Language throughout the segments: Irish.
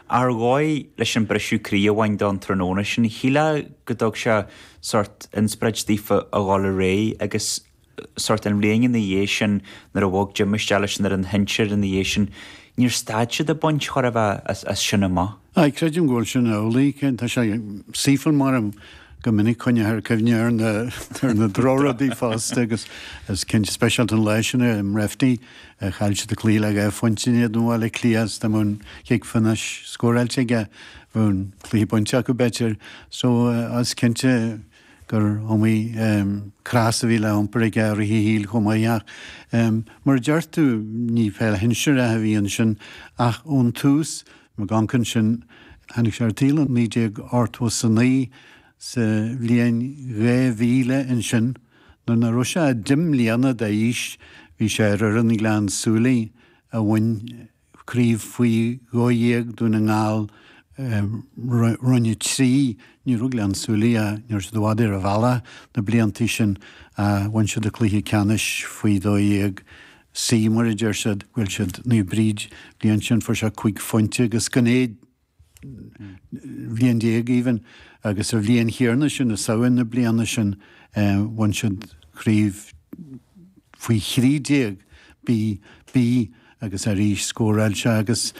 Ar dhóigh leis an briseadh croí a bhain dó an tráthnóna sin, shílfeá go dtug sé sórt inspioráid daofa a dhul ar aghaidh agus sórt an bhliain ina dhiaidh sin nuair a bhog Jim isteach leis an fhoireann shinsir ina dhiaidh sin, níor stad siad ag baint chóir a bheith as sin amach. Aye, creidim go bhfuil sin amhlaidh. Tá sé saoithiúil mar go minic coinneothar cuimhne ar na ar na drochrudaí fosta agus is cinnte speisialta an lá sin i mBreffni chaill siad an cluiche le 2 phointe in éadan Bhaile Átha Cliath is dá mbeadh an chic phionóis scóráilte aige bheadh an cluiche bainte acu b'fhéidir. So is cinnte gur iomaí cros a bhí le hiompar aige i rith a shaoil chomh maith ach mar a deir tú ní peil shinsearach a bhí ansin ach ón tús, McGonkin sin, tháinig sé ar an tsaol i 1989 sa bhliain 2000 ansin nuair nach raibh sé ach 10 mbliana d'aois bhí sé ar fhoireann Ghleann tSúilí a bhain Craobh faoi 12 Dún na nGall, Roinn 3, ní raibh Gleann tSúilí ach ní raibh siad i bhfad ar an bhealach na blianta sin ach bhain siad an cluiche ceannais faoi 12 C mar a deir siad, bhuail siad Naomh Bríd bliain sin fuair sé 5 phointe agus gan é bhliain déag even agus sa bhliain chéanna sin i Samhain na bliana sin bhain siad craobh faoi 13 B B agus arís scóráil sé agus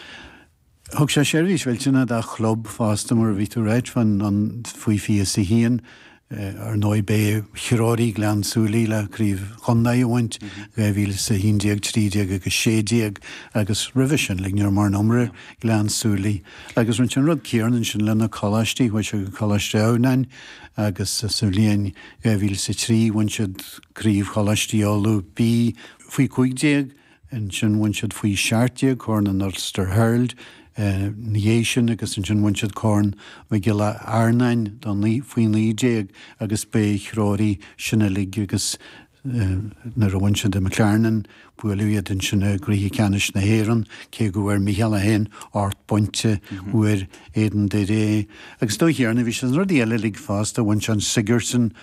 thug sé seirbhís mhillteanach dá chlub fosta mar a bhí tú ag ráit fán an faoi 21 Ar ndóigh b'é a threoraigh Gleann tSúilí le Craobh Chontae a bhaint, 2011, 13 agus 16 agus roimhe sin like ní raibh mórán iomrá ar Ghleann tSúilí. Agus rinne sé an rud céanna ansin le na coláistí, chuaigh sé go Coláiste Adhamhnáin agus sa bhliain 2003 bhain siad Craobh Choláistí Uladh B faoi 15, Ansin bhain siad faoi 17 Corn an Ulster Herald ina dhiaidh sin agus ansin bhain siad Corn Mhic Giolla Adhamhnáin do faoi 19 agus b'é a threoraigh sin uilig agus nuair a bhain siad i McLarnon buaileadh iad ansin i gcluiche ceannais na hÉireann cé go bhfuair Micheál é féin 8 bpointe fuair Aidan Doire agus dóigh chéanna bhí sé sna rudaí eile uilig fosta bhain sé an Sigerson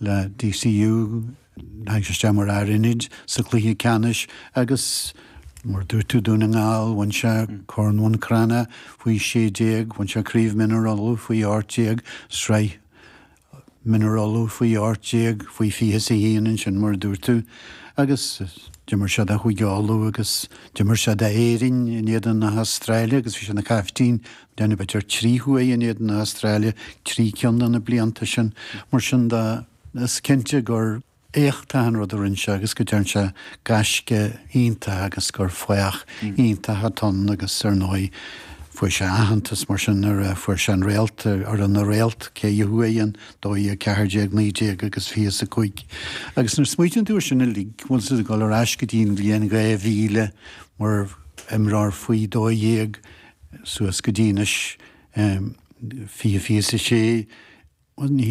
le DCU Tháinig sé isteach mar fhear ionaid sa chluiche ceannais agus, mar a dúirt tú, Dún na nGall, bhain sé Corn Bhun Cranncha faoi 16, bhain sé Craobh Mionúr Uladh faoi 18, Sraith Mionúr Uladh faoi 18, faoi 21 ansin, mar a dúirt tú. Agus d'imir sé do Chúige Uladh agus d'imir sé d'Éirinn in éadan na hAstráile agus bhí sé ina chaiftín, déanamh b'fhéidir 3 huaire in éadan na hAstráile, 3 ceann de na blianta sin. Mar sin de. Is cinnte gur éachtach an rud a rinne sé agus go dtearn sé gaisce iontach agus gur fathach iontach atá ann agus ar ndóigh fuair sé aitheantas mar sin nuair a fuair sé an réalt, fhoireann na réalt, ceithre huaire, 12, 14, 19 agus 25. Agus nuair a smaoitíonn tú ar sin uilig, bhfuil siad ag dul ar ais go dtí an bhliain 2000 mar imreoir faoi 12 suas go dtí anois 20, 26, Bhuel, ní,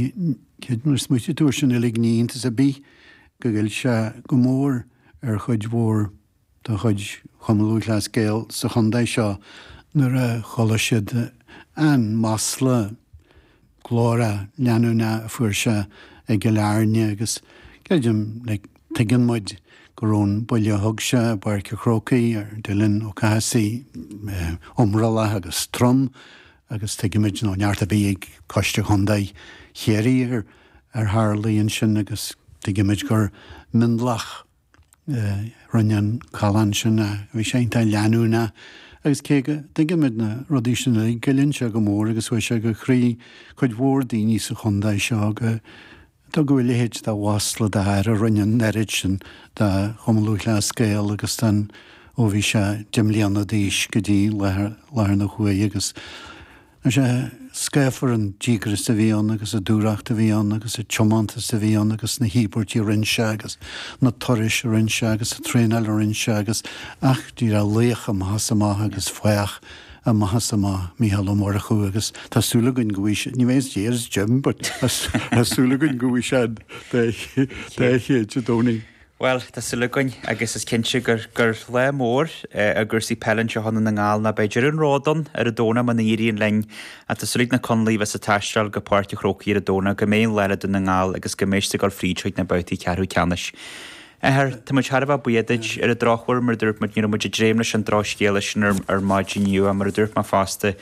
nuair a smaoitíonn tú ar sin uilig, ní iontas ar bith go ghoill sé go mór ar chuid mhór de chuid Chumann Lúthchleas Gael sa chontae seo nuair a chuala siad an masla glórach leanúnach a fuair sé i gCill Airne agus creidim, like, tuigeann muid go raibh an buille a thug sé i bPáirc an Chrócaigh ar Dylan Ó Cathasaigh iomrallach agus trom. Agus tuigimid nach raibh neart ar bith ag Coiste Chontae Chiarraí ar ar tharlaigh ansin agus tuigimid gur mionlach a rinne an callán sin a bhí sé iontach leanúnach agus cé go dtuigimid na rudaí sin uilig, goilleann sé go mór agus chuaigh sé go croí cuid mhór daoine sa chontae seo go dtugadh a leithéid de mhasla d'fhear a rinne an oiread sin do Chumann Lúthchleas Gael agus don ó bhí sé 10 mbliana d'aois go dtí láthair na huaire agus tá sé scáfar an díograis a bhí ann agus an dúthracht a bhí ann agus an tiomantas a bhí ann agus na híobairtí a rinne sé agus na turais a rinne sé agus an traenáil a rinne sé agus ach díreach laoch amach is amach agus fathach amach is amach, Mícheál Ó Murchú agus tá súil againn go bhfaighidh sé, ní bheidh as dear as Jim but tá súil againn go bhfaighidh sé an dá chéad Dé Domhnaigh. Bhuel, tá súil againn agus is cinnte gur gur lá mór i gcúrsaí peile anseo i nDún na nGall ná beidh deireadh an róid ann ar an Domhnach muna n-éiríonn linn ach tá súil ag na Conallaigh a bheas ag taisteal go Páirc an Chrócaigh ar an Domhnach go mbeidh an lá le Dún na nGall agus go mbeidh siad ag dul fríd chuig na babhtaí ceathrú ceannais. Athair, tá muid thar a bheith buíoch duit. Ar an drochuair, mar a dúirt muid, ní raibh muid ag dréim leis an drochscéala sin ar maidin inniu ach mar a dúirt mé fosta.